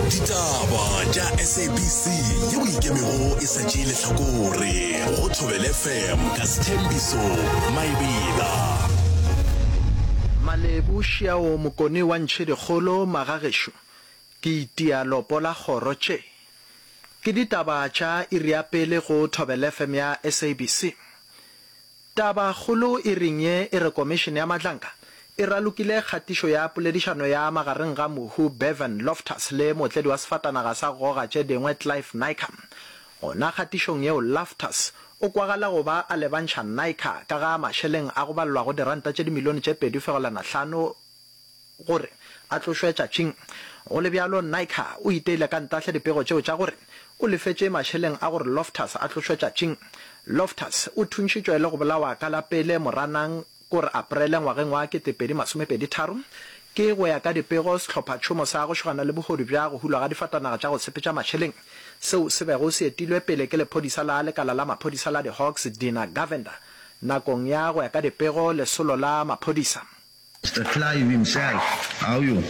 Ditaba tša SABC yeo ikemego e sa tšee lehlakore go Thobela FM ka Sthembiso Maebela. Malebu Šiao Mokone wa Ntšhedikgolo Magagešo ke itia lopo la kgoro tše ke ditaba tša iri ya pele go Thobela FM ya SABC. Tabakgolo iring ye e re Komišene ya Madlanka e ralokile kgatišo ya poledišano ya magareng ga mohu Bevan Loftus le mootledi wa sefatanaga sa go goga tše dingwe Clive Naicker. Gona kgatišong yeo Loftus o kwagala go ba a lebantšha Naicker ka ga mašeleng a go balelwago diranta tše dimilione tše 2.5 gore a tlošwe tšatšing. Go le bjalo, Naicker o iteile ka ntahle dipego tšeo tša gore o lefetše mašeleng a gore Loftus a tlošwe tšatšing. Loftus o thuntšhitšwe le go bolawa ka la pele Moranang kore Aprele ngwageng wa 2023. Ke go ya ka dipego, sehlophatšhomo sa go šogana le bohodu bja go hulwa ga difatanaga tša go sepetša mašeleng seo se bego se etilwe pele ke lephodisa la lekala la maphodisa la di-Hawks Dina Govender nakong ya go ya ka dipego lesolo la maphodisa. Mr Clive himself, how you? Yeah,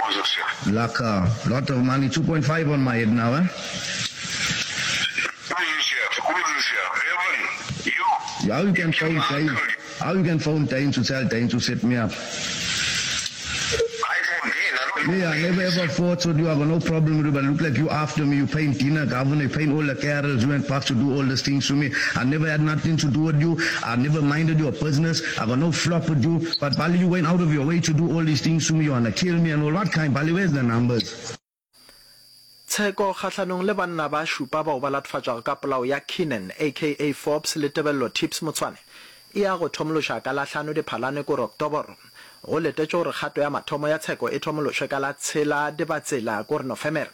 who's this here? Lekker, lot of money, 2.5 on my head now, eh? Who is this here? Who is this here? Evan, you? How you can phone Dane? How you can phone Dane to tell Dane to set me up? I phone Dane, I don't Me, I never ever fought with you, I got no problem with you, but look like you after me, you paying dinner, governor, you paying all the carers, you and Parks to do all these things to me. I never had nothing to do with you, I never minded your business, I got no flop with you, but Bali, you went out of your way to do all these things to me, you wanna kill me and all, what kind, Bali, where's the numbers? Tsheko kgahlanong le banna ba šupa bao ba latofatšwago ka polao ya Keenan aka Forbes le Tebello Tips Motshwane e ya go thomološa ka la hlano Diphalane kore Oktoboro. Go letetšwe gore kgato ya mathomo ya tsheko e thomološwe ka la tshela Dibatsela kore Nofemere.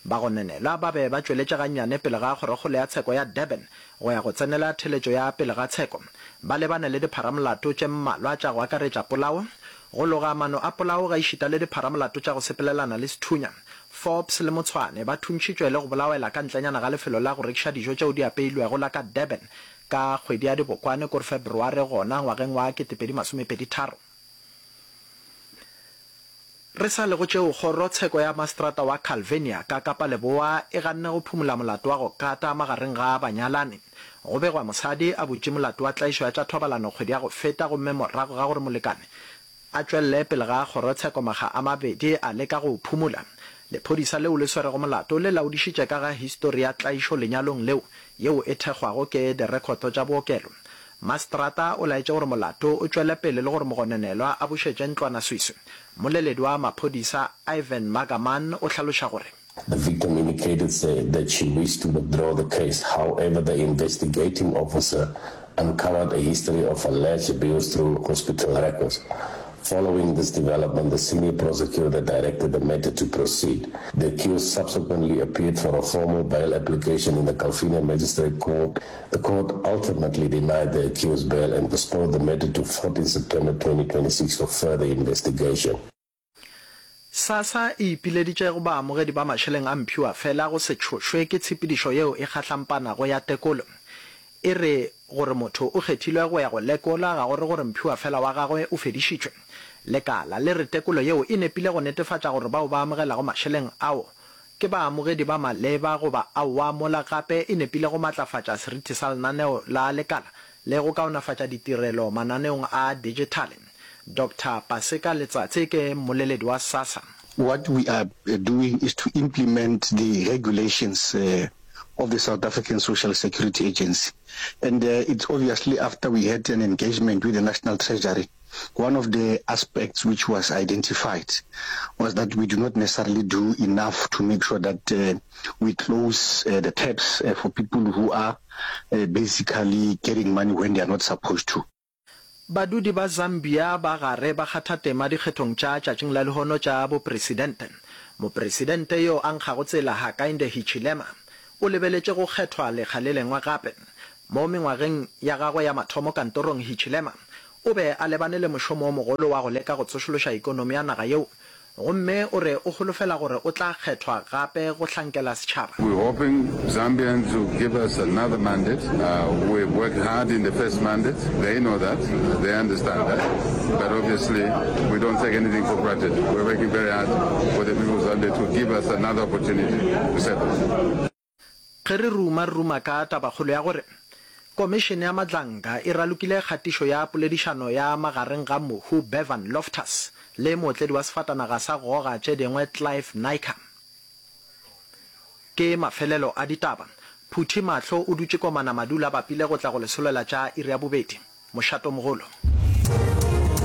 Bagononelwa ba be ba tšweletše gannyane pele ga kgorokgolo ya tsheko ya Durban go ya go tsenela theletšo ya pele ga tsheko. Ba lebane le dipharamolato tše mmalwa tša go akaretša polao, go loga mano a polao gaešita le dipharamolato tša go sepelelana le sethunya. Forbes le Motshwane ba thuntšhitšwe le go bolawela ka ntlenyana ga lefelo la go rekiša dijo tšeo di apeilwego la ka Durban ka kgwedi ya Dibokwane kore Feberware gona ngwageng wa 2023. Re sa le go tšeo, kgoro tsheko ya maseterata wa Calvinia ka Kapa Leboa e ganne go phumola molato wa go kata magareng ga banyalani. Go begwa mosadi a butše molato wa tlaišo ya tša thobalano kgwedi ya go feta gomme morago ga gore molekane a tšwelele pele ga kgorotsheko makga a mabedi a leka go o phumola. Lephodisa leo le swerego molato le laodišitše ka ga histori ya tlaišo lenyalong leo yeo e thekgwago ke direkhoto tša bookelo. Maseterata o laetše gore molato o tšwele pele le gore mogononelwa a bušetše ntlwanaswiswi. Mmoleledi wa maphodisa Ivan Margaman o hlaloša gore. The victim indicated said that she wished to withdraw the case, however the investigating officer uncovered a history of alleged abuse through hospital records. Following this development, the senior prosecutor directed the matter to proceed. The accused subsequently appeared for a formal bail application in the Calvinia Magistrate Court. The court ultimately denied the accused bail and postponed the matter to 14 September 2026 for further investigation. SASSA e ipileditše go baamogedi ba mašeleng a mphiwafela go se tšhošwe ke tshepedišo yeo e kgahlampanago ya tekolo. E re gore motho o kgethilwe go ya go lekola ga go re gore mphiwafela wa gagwe o fedišitšwe. Lekala le re tekolo yeo e nepile go netefatša gore bao ba amogelago mašeleng ao ke baamogedi ba maleba goba aowa mola gape e nepile go matlafatša seriti sa lenaneo la lekala le go kaonafatša ditirelo mananeong a dijithale. Doctor Paseka Letsatsi ke mmoleledi wa SASSA. What we are doing is to implement the regulations of the South African Social Security Agency and it's obviously after we had an engagement with the National Treasury One of the aspects which was identified was that we do not necessarily do enough to make sure that uh, we close uh, the taps uh, for people who are uh, basically getting money when they are not supposed to. Badudi ba Zambia ba gare ba kgatha tema dikgethong tša tšatšing la lehono tša bopresidente. Mopresidente yo a nkgago tsela Hakainde Hichilema o lebeletše go kgethwa lekga le lengwe gape. Mo mengwageng ya gagwe ya mathomo kantorong Hichilema o be a lebane le mošomo o mogolo wa go leka go tsošološa ikonomi ya naga yeo. Gomme o re o holofela gore o tla kgethwa gape go hlankela setšhaba. We're hoping Zambians will give us another mandate. We've worked hard in the first mandate. They know that. They understand that. But obviously, we don't take anything for granted. We're working very hard for the people of Zambia to give us another opportunity to serve them. Ge re ruma, re ruma ka tabakgolo ya gore Komišene ya Madlanga e ralokile kgatišo ya poledišano ya magareng ga mohu Bevan Loftus le mootledi wa sefatanaga sa goga tše dingwe Clive Naicker. Ke mafelelo a ditaba. Phuthi Mahlo o dutše komana madula a bapile go tla go le solela tša iri ya bobedi. Mošatomogolo.